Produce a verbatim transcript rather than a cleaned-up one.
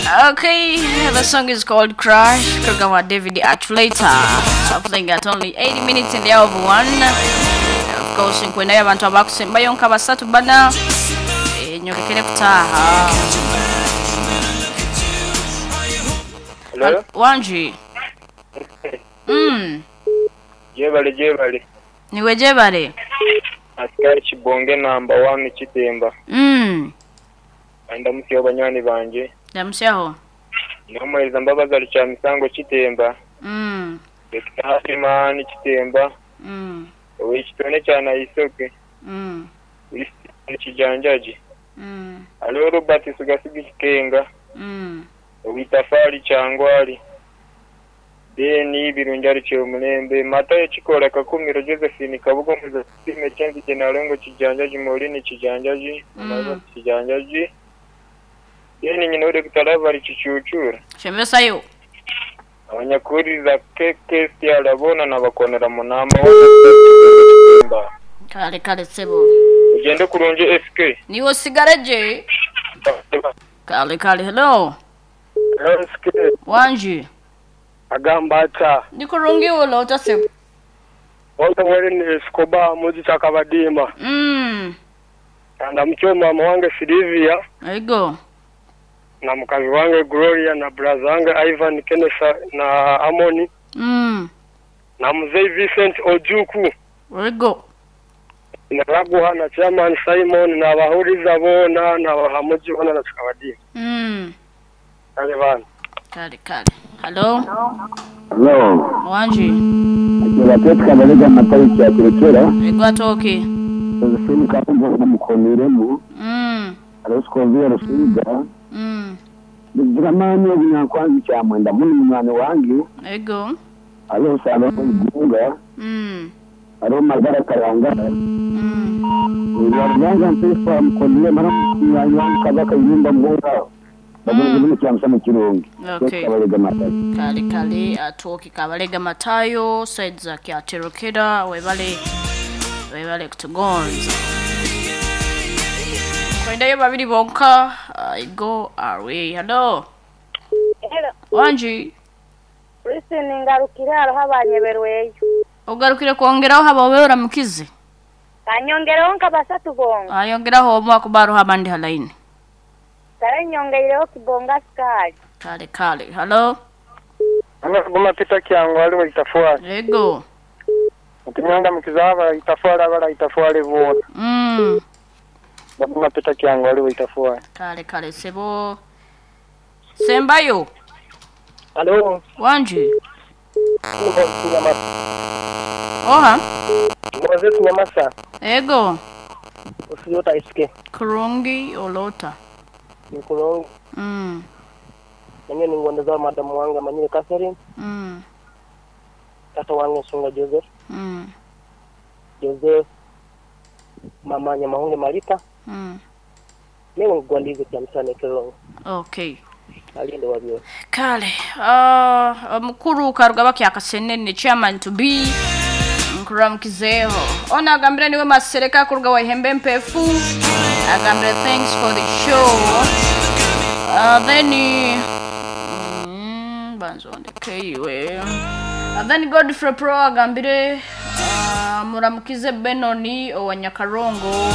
Okay, the song is called Crash. Kagawa David Atulater. Playing at only eighty minutes in the hour of one. Of course, nkwendayo abantu abakusembayo nka basatu bana eh, nyolekere kutaaha. Hello? Wanji. Mm. Jebale jebale. Niwe jebale. Askari Kibonge number one Kitemba. Mm. Ndamusiyo banywani banje. Ndamusyaho. Namuhereza Mbabazi ali misango Kitemba. Mm. Dokita Hasimani Kitemba. Mm. Owekitone kya Naisoke. Mm. Isi Kijanjaji. Mm. Aliho Robert Sugasigi Kikenga. Mm. Owitafari Kyangwali. Deni Birungi ali Kyomulembe. Matayo Kikola Kakumiro Josephine Kabugo Muzasime Chenzi Jenalengo Kijanjaji Maureen Kijanjaji. Mm. Kijanjaji. Deni nyina Dokita Lavari Kicucura. Shembesayo. Abanyakuriza K K S arabona nabakonera munamba. Kale kale sebo. Ugende kurungi S K. Niwe sigaraje. Kale kale, hello. S K. Wanji. Agamba ata? Ndikurungi ulota sebo. Wonse mweri ni Escobar muji chakabadima. Mm. Ndamukiwe mama wange Silvia Ego. Na mukazi wange Gloria na brother wange Ivan Kenesa na Amoni Mm. na mzee Vincent Ojuku Ego. na Raguha na chairman Simon na abahuriza bona na bahamuji bona na chakabadima. Mm. Kale bana. Kale kale. Hello. Hello. Wanji. Akira Kabalega Matayo kyakurekera. Ego atoke. Josephine Kakumbo mukoniremu. Mm. Aroskovia Rusiga. Mm. Bigiramani obunyankwanzi kyamwenda muni munywani wange. Ego. Hariho Salo Igunga. Mm. Hariho Magara Karanga. Mm. Rwanga mpesa mukonire mara munywani wange Kabaka Yumba Muhunga. Bagenzi mm. Kyamusa mu Kirungi. Okay. Kabalega Matayo. Kale kale atoke Kabalega Matayo side za Kyaterokera, webale webale kutugonza. Kwendayo babiri bonka, I go away. Hello. Hello. Wanji. Listen, ngarukire hariho abanyeberweyo. Ogarukire kwongeraho haba oramukize. Kanyongereho nka basatu bonga. Ayongeraho omwe akuba hariho abandi halaini. Kale nyongeireho Kibonga Sukali. Kale kale. Hello. Guma Peter Kyango aliwe itafwali. Ego. Ntinyanga mukizaba itafwali abala itafwali bona. Mm. Baguma Peter Kyango aliwe itafwali. Kale kale sebo. Sembayo. Hello. Wanji. Oha. Moses Nyamasa. Ego. Usiyota S K. Kurungi olota. Nikulongi. Mm. Nanyo ningondeza madamu wange Manyire Catherine. Mm. Tata wange Sunga Joseph. Mm. Joseph. Mama Nyamahunge Malita. Mm. Mewe ngwandize kyamsane kelongo. Okay. Alinde wabyo. Kale. Uh, mukuru Karugaba Kyakasenene chairman to be. Nkuramukizeho. Ona agambire niwe Masereka kuruga wa Ihembe Mpefu. Agambire thanks for the show. Uh, then mm, banzondeke iwe. Uh, then Godfrey Pro agambire uh, muramukize Benoni owa Nyakarongo.